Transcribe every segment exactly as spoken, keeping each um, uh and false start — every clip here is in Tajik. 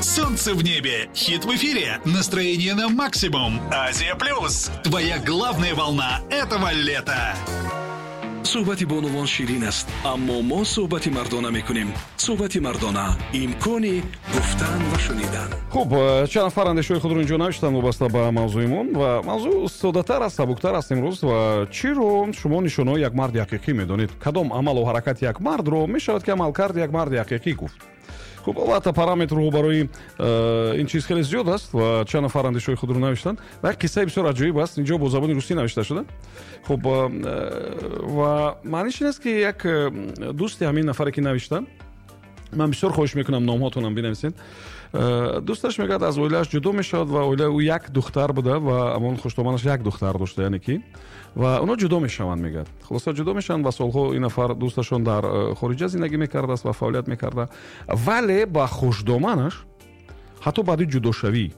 Солнце в небе, хит в эфире, настроение на максимум. Азия Плюс, твоя главная волна этого лета. Суҳбати бонувон ширин аст, аммо мо суҳбати мардона мекунем. Суҳбати мардона, имкони гуфтан ва шунидан. Хуб, чанд нафар андешаҳои худро инҷо навиштанд вобаста ба мавзӯимон, ва мавзӯъ соддатар аст, сабуктар аст имрӯз. Ва чиро шумо нишонаҳои як марди ҳақиқӣ медонед? Кадом амалу ҳаракати як мардро мешавад, ки амалкарди як марди ҳақиқӣ гуфт? Хуб, албатта, параметрҳо барои э, ин чиз хеле зиёд аст ва чанд нафар андешаҳои худро навиштанд. Ва як қиссаи бисёр аҷоиб аст, инҷо бо забони русӣ навишта шуда. Хуб, э, ва маъниш ин аст, ки як э, дӯсти ҳамин нафаре, ки навишта, ман бисёр хоҳиш мекунам, номҳотонам бинависед, дӯсташ мегӯяд, аз оилааш ҷудо мешавад ва оилаи ӯ як духтар буда ва амон хуштоманаш як духтар дошта, яъне ки ва онҳо ҷудо мешаванд, мегӯяд. Хулоса, ҷудо мешаванд ва солҳо ин нафар дӯсташон дар э, хориҷа зиндагӣ мекардааст ва фаъолият мекарда, вале ба хушдоманаш ҳатто баъди ҷудошавӣ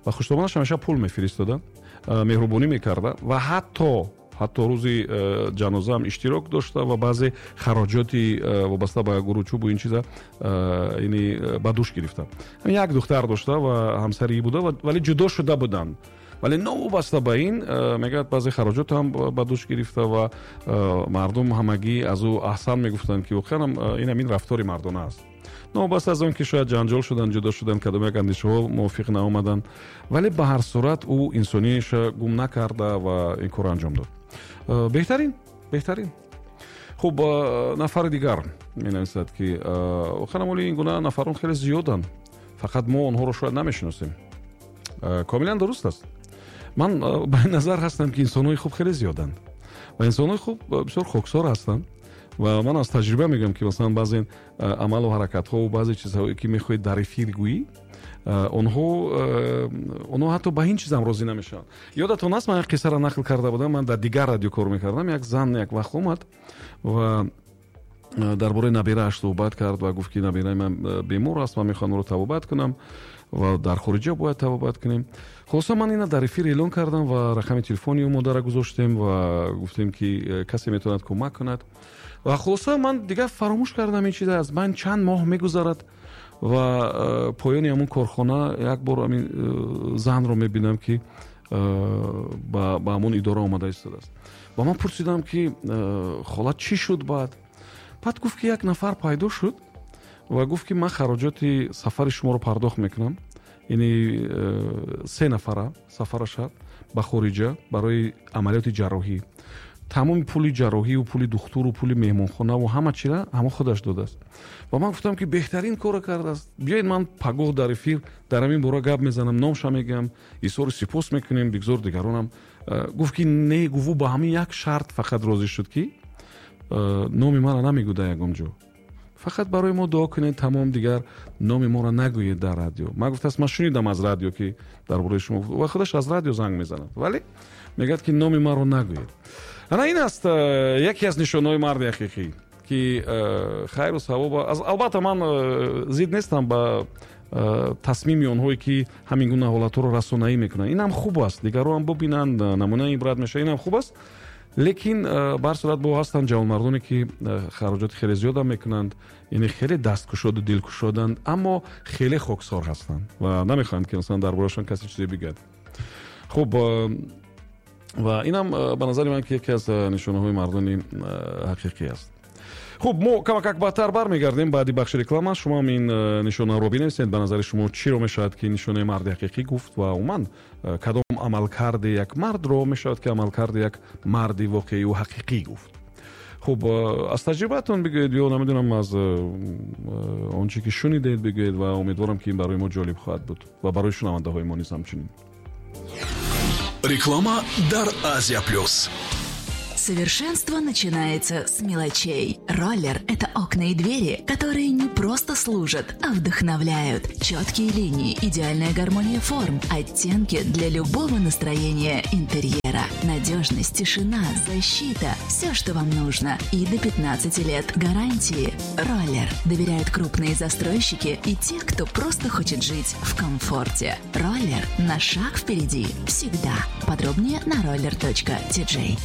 ба хушдоманаш ҳамеша пул мефиристода, э, меҳрубонӣ мекарда ва ҳатто ҳатто рӯзи э, ҷанозаам иштирок дошта ва баъзе хароҷоти вобаста ба гуручӯбу ин чиза ини ба дӯш гирифта. Як духтар дошта ва ҳамсари буда, вале ҷудо шуда буданд, вале новобаста ба ин, мегӯяд, баъзе хароҷот ҳам ба дӯш гирифта ва мардум ҳамагӣ аз ӯ аҳсан мегуфтанд, ки воқеан ин ҳамин рафтори мардона аст. Новобаста аз он ки шояд ҷанҷол шуданд, ҷудо шуданд, кадом як андешаҳо мувофиқ наомаданд, вале ба ҳар сурат ӯ инсониша гум накарда ва ин корро анҷом дод. Беҳтарин, беҳтарин. Хуб, нафари дигар менависад, ки воқеан оли ин гуна нафарон хеле зиёданд, фақат мо онҳоро шояд намешиносем. Комилан дуруст аст. Ман ба ин назар ҳастам, ки инсонҳои хуб хеле зиёданд ва инсонҳои хуб бисёр хоксор ҳастанд. Ва ман аз таҷриба мегӯям, ки масалан баъзе амалу ҳаракатҳо, баъзе чизҳое, ки мехоҳед дар эфир гӯӣ, онҳо онҳо ҳатто ба ин чизам розӣ намешаванд. Ёдатон аст, ман як қиссаро нақл карда будам, ман дар дигар радио кор мекардам, як зан як вақт омад ва дар бораи набирааш суҳбат кард ва гуфт, ки набираи ман бемор аст, ман мехоҳам ӯро табобат кунам ва дар хориҷа бояд табобат кунем. Хулоса, ман ина дар эфир эълон кардам ва рақами телефони ӯ модарро гузоштем ва гуфтем, ки касе метавонад кӯмак кунад. Ва хулоса, ман дигар фаромӯш кардам ин чиза, аз ман чанд моҳ мегузарад ва поёни ҳамон корхона як бор ҳамин занро мебинам, ки ба ҳамон идора омада истодааст. Ва ман пурсидам, ки хола, чӣ шуд баъд? Баъд гуфт, ки як нафар пайдо шуд ва гуфт, ки ман хароҷоти сафари шуморо пардохт мекунам, яъне се нафара сафараша ба хориҷа барои амалиёти ҷарроҳӣ, тамоми пули ҷарроҳию пули духтуру пули меҳмонхонаву ҳама чира ҳама худаш додааст. Ва ман гуфтам, ки беҳтарин корро кардааст, биёед, ман пагоҳ дар эфир дар ҳамин бора гап мезанам, номша мегӯям, изҳори сипос мекунем, бигзор дигаронам. Гуфт, ки не, гуфт, ӯ ба ҳамин як шарт фақат розӣ шуд, ки номи маро намегӯда ягон ҷо, фақат барои мо дуо кунед, тамом, дигар номи моро нагӯед дар радио. Ман гуфтааст, ман шунидам аз радио, ки дар бораи шумо, ва худаш аз радио занг мезанад, вале мегӯяд, ки номи маро нагӯед. Ана ин аст яке аз нишонаҳои марди ҳақиқӣ, ки хайру савоб. Албатта, ман зид нестам ба тасмими онҳое, ки ҳамин гуна ҳолатҳоро расонаӣ мекунанд. Инам хуб аст, дигарро ҳам бубинанд, намунаи ибрат мешавад, инам хуб аст. Лекин ба ҳар сурат бо ҳастанд ҷавонмардоне, ки хароҷоти хеле зиёдам мекунанд, яъне хеле дасткушоду дилкушоданд, аммо хеле хоксор ҳастанд ва намехоҳанд, ки масалан дар бораашон касе чизе бигӯяд. Хуб, ва инам ба назари ман, ки яке аз нишонаҳои мардони ҳақиқӣ аст. Хуб, мо камакак баъдтар бармегардем баъди бахши реклама. Шумо ҳам ин нишонаро бинависед, ба назари шумо чиро мешавад, ки нишонаи марди ҳақиқӣ гуфт ва умуман кадом амалкарди як мардро мешавад, ки амалкарди як марди воқеию ҳақиқӣ гуфт. Хуб, аз таҷрибаатон бигӯед ё намедонам, аз он чӣ ки шунидед бигӯед, ва умедворам, ки ин барои мо ҷолиб хоҳад буд ва барои шунавандаҳои мо низ ҳамчунин. Реклама дар Азия Плюс. Совершенство начинается с мелочей. Роллер – это окна и двери, которые не просто служат, а вдохновляют. Четкие линии, идеальная гармония форм, оттенки для любого настроения интерьера. Надежность, тишина, защита – все, что вам нужно. И до пятнадцати лет гарантии. Роллер доверяют крупные застройщики и те, кто просто хочет жить в комфорте. Роллер на шаг впереди всегда. Подробнее на roller точка ти джей.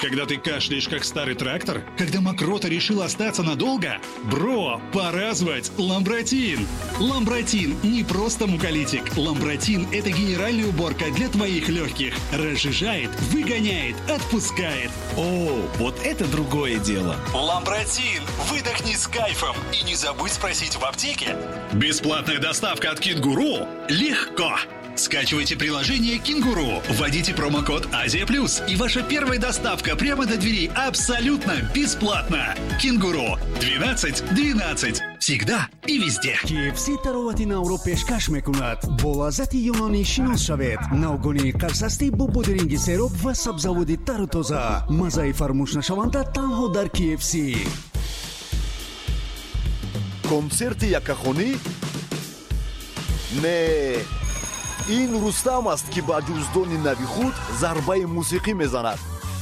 Когда ты кашляешь, как старый трактор? Когда мокрота решила остаться надолго? Бро, пора звать Ламбратин! Ламбратин не просто муколитик. Ламбратин – это генеральная уборка для твоих легких. Разжижает, выгоняет, отпускает. О, вот это другое дело. Ламбратин! Выдохни с кайфом и не забудь спросить в аптеке. Бесплатная доставка от Кенгуру? Легко! Скачивайте приложение «Кенгуру», вводите промокод «Азия плюс», и ваша первая доставка прямо до двери абсолютно бесплатно. «Кенгуру» двенадцать двенадцать. Всегда и везде. K F C таровати навро пешкаш мекунад. Бо лаззати юнонӣ шинос шавед. Навгонии қарсастӣ бо бодиринги сероб ва сабзаводи тару тоза. Маззаи фаромӯшнашаванда танҳо дар K F C. Консерти яккахонӣ? Не, ин Рустам аст, ки ба ҷуздони нави худ зарбаи мусиқӣ мезанад.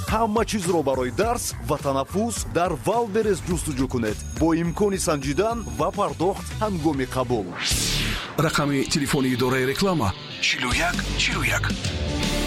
Ҳама чизро барои дарс ва танаффус дар Вайлдберриз ҷустуҷӯ кунед бо имкони санҷидан ва пардохт ҳангоми қабул. Рақами телефони идораи реклама чилу як чилу як.